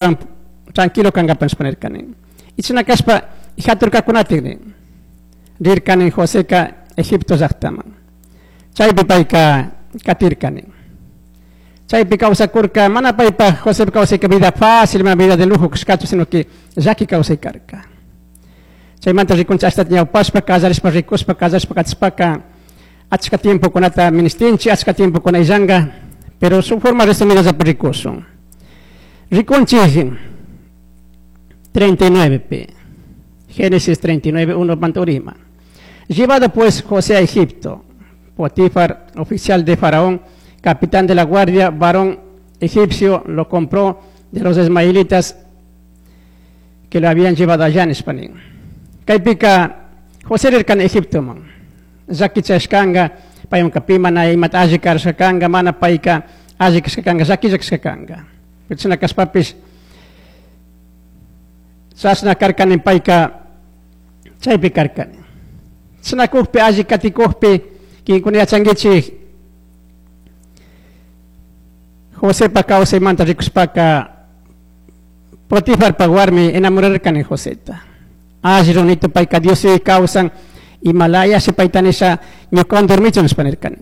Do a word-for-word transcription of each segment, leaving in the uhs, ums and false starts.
Tranquilo kankapak nishpa nirkani. Y chashna kashpa haturkakunatik rirkani Joseka Egipto llaktaman. Chaypi payka katirkani. Chaypi kawsakurka mana paypa Josepa kawsayka vida fácil, mana vida de lujo kashkachu, sino que llaki kawsay karka. Chaymanta rikunchik ashtata ñawpashpa, kallarishpa rikushpa, kallarishpa katishpaka achka tiempokunata ministinchik, achka tiempokuna illanka, pero su forma resumida llapa rikushun. Rikunchik treinta y nueve pi. Génesis treinta y nueve, uno pantorima. Llevado pues José a Egipto, Potifar, oficial de Faraón, capitán de la guardia, varón egipcio, lo compró de los ismaelitas que lo habían llevado allá en España. Kaypika José rirkan Egiptoman. Llaki chashkanga, paymanka pi mana imata alli karashkanga, mana payka alli kashkanga, llakilla kashkanga. Chashna kashpapish chashna karkani payka chaypi karkani. Chashna kukpi alli katikukpi kinkuna yachankichik Josepa kawsaymanta rikushpaka Potifarpa warmi enamorarkani Joseta. Alli runito payka Dios kawsan imalaya si payta nisha ñukawan dormichun nishpa nirkani.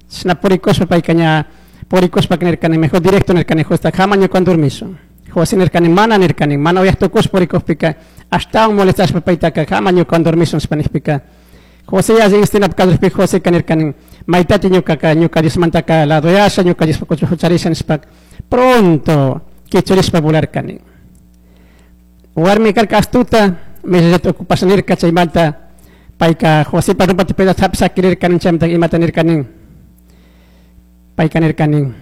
Chashna purikushpa payka ña purikushpa nirkani mejor directo nirkani Joseta jama ñukawan dormishun. José nirkani mana nirkani mana uyaktukushpa purikukpika ashtawan molestashpa paytaka jama ñukawan dormishun nishpa nishpika José ya instinap kallarikpi Joseka nirkani maytati ñukaka ñuka Diosmantaka ladoyasha ñuka Diospa hucharisha nishpa pronto kichurishpa volarkani. Warmi karka astuta mesallata ocupasha nirka chaymanta payka Josepa ropata pedazota hapish sakirirkani chaymanta imata nirkani payka nirkani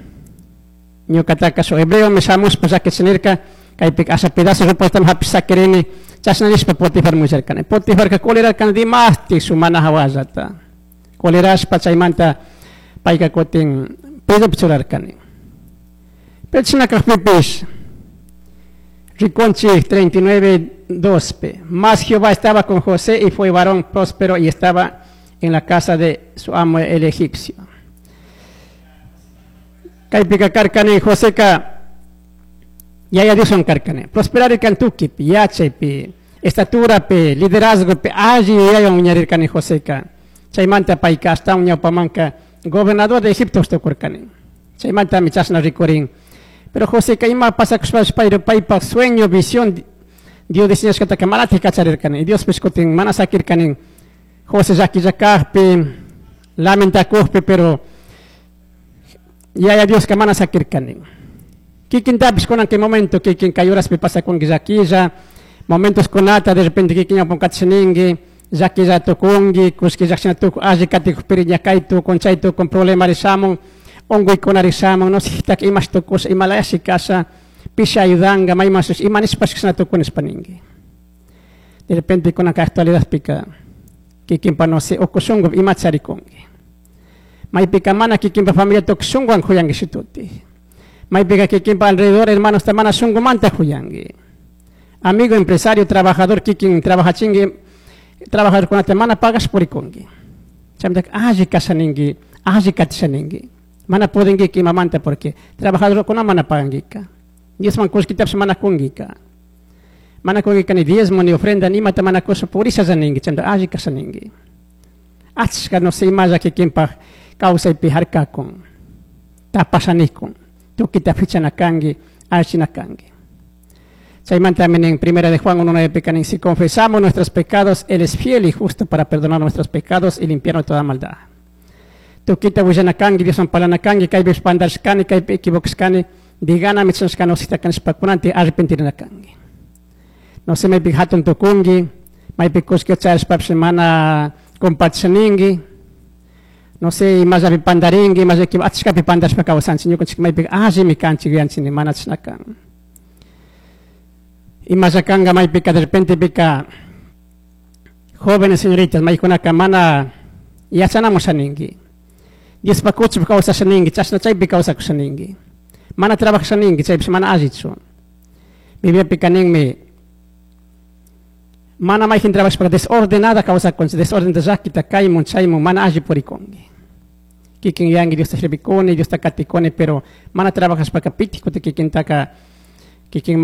ñukataka shuk hebreomi shamushpa llakichi nirka kaypika asha pedazo ropatami hapish sakirini chashna nishpa Potifar willarkani. Potifarka colerarkani dimashtik shuk mana hawallata colerashpa chaymanta payka kutin presopi churarkani. Pero chashna kakpipish rikunchik treinta y nueve, dos p. Mas Jehová estaba con José y fue varón próspero y estaba en la casa de su amo el egipcio. Kaypika karkani Joseka Yaya Dioswan karkani. Prosperarkan tukipi, yachaypi, estaturapi, liderazgopi, alli yuyawan wiñarirkani Joseka. Chaymanta payka ashtawan ñawpamanka gobernador de Egipto tukurkani. Chaymantami chashna rikurin. Pero Joseka ima pasakushpash payro paypak sueño, visión Dios diseñashkataka manatik kacharirkani. Y Diospish kutin mana sakirkani. José llakilla kajpi, lamentakujpi, pero Yaya Dioska mana sakirkani. Kikintapish kunan kay momento kikin kay horaspi pasakunki llakilla, momentos kunata de repente kikin ñawpan katishaninki, llakilla tukunki, kushki llakshina tukun, alli katikukpiri ñakay tukun, chay tukun, problemari shamun, unkuykunari shamun, no sé, imash tukusha, imalayashi kasha, pishi ayudanga, mayman ima nishpash kashna tukun nishpa ninki. De repente kunanka actualidadpika kikinpa no sé, uku shunku ima charikunki. Maypika mana kikinpa familia tukuy shunkuwan kuyanki shituti. Maypika kikinpa alrededor hermanos ta mana shunkumanta kuyanki. Amigo, empresario, trabajador, kikin trabajachinki, trabajadorkunata mana pagash purikunki. Chaymantaka alli kashaninki, alli katishaninki. Mana pudinkika imamanta porque trabajadorkuna mana pagankika. Diosman kullkitapish mana kunkika. Mana kunkika ni diezmo ni ofrenda ni imata mana kusha purisha ninki, chaymanta alli kashaninki. Achka no sé imalla kikinpaj kawsaypi harkakun, tapashanikun, tukita fichana kanki, allichina kanki. Chaymantami nin Primera de Juan uno nueve nin, si confesamos nuestros pecados, Él es fiel y justo para perdonar nuestros pecados y limpiarnos de toda maldad. Tukita willana kanki, Dioswan parlana kanki, kaypi pandarishkani, kaypi equivocashkani, digana michanashkani osita kanishpa kunanti arrepentirina kanki. No sé, maypi hatun tukunki, maypi kullki charishpapish mana compartishaninki, no sé, imallapi pandarinki, imallapi achkapi pandarishpa kawsanchik, ñukanchik maypi allimi kanchik yuyanchik mana chashna kan. Imalla kanka maypika de repente pika jóvenes señoritas maykunaka mana yachanamushaninki. Diospa kuchupi kawsashaninki, chashna chaypi kawsakushaninki. Mana trabajashaninki, chaypish mana allichu. Bibliapika ninmi mana mayjin trabajashpaka desordenada kawsakunchik, desorden llakita kaymun chaymun mana alli purikunki. Kikin yuyanki Diosta sirvikuni, Diosta katikuni, pero mana trabajashpaka pitik kutin kikintaka Kikin.